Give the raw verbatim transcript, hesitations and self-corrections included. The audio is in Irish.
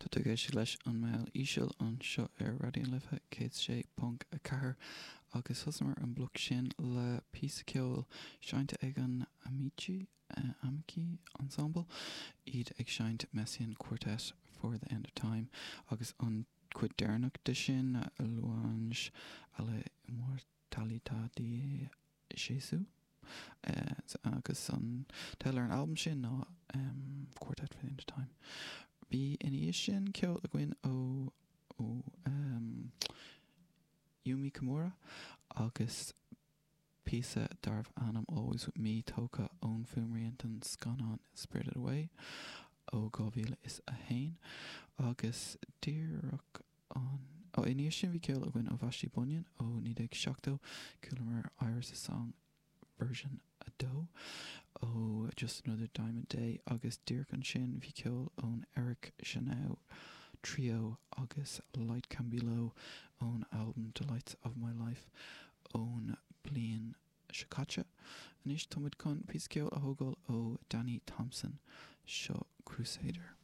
Tá tú ag éisteacht leis an mbéal íseal anseo ar Raidió na Life céad sé ponc a ceathair agus thosaíomar an bloc sin le píosa ceoil seinnte ag an Amici Amici Ensemble, iad ag seinnt Messiaen Quartet for the End of Time agus an chuid deireanach de sin Louange à l'immortalité de Jésus. Agus an teideal ar an albam sin ná um, Quartet for the End of Time. Bhí ina dhiaidh sin ceol againn ó ó um, Yumi Kimura agus píosa darbh ainm Always With Me tógtha ón fuaimrian den scannán Spirited Away ó dhá mhíle is a haon agus díreach an ó ina dhiaidh sin bhí ceol againn ó Vashti Bunyan ó naoi déag seachtó chualamar Iris Song version a dó ó Just Another Diamond Day agus díreach ansin bhí ceol ón Eric Genao Trio agus Light Can Be Low ón album Delights of My Life ón bliain seo caite. Anois táimid chun píosa ceoil a thógáil ó Danny Thompson seo Crusader.